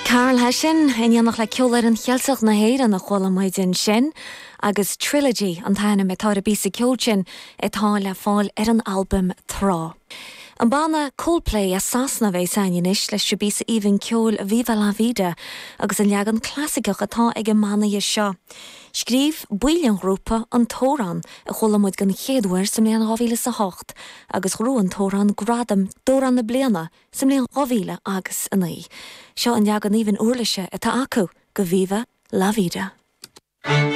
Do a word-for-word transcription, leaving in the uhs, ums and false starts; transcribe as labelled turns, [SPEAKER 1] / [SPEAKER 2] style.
[SPEAKER 1] Karl Hession in éineacht le Ceolfhoireann Cheilteach na hÉireann a chuala muid ansin, agus Trilogy an t-ainm atá ar an bpíosa ceoil sin atá le fáil ar an albam Trá. An banna Coldplay as Sasana a bheas againn anois leis an bpíosa aoibhinn ceoil Viva La Vida agus an leagan clasaiceach atá ag an mbanna seo. Scríobh baill an ghrúpa an t-amhrán a chuala muid den chéad uair sa mbliain dhá mhíle is a hocht agus ghnóthaigh an t-amhrán gradam d'amhrán na bliana sa mbliain dhá mhíle agus a naoi. Seo an leagan aoibhinn uirlise atá acu do Viva La Vida.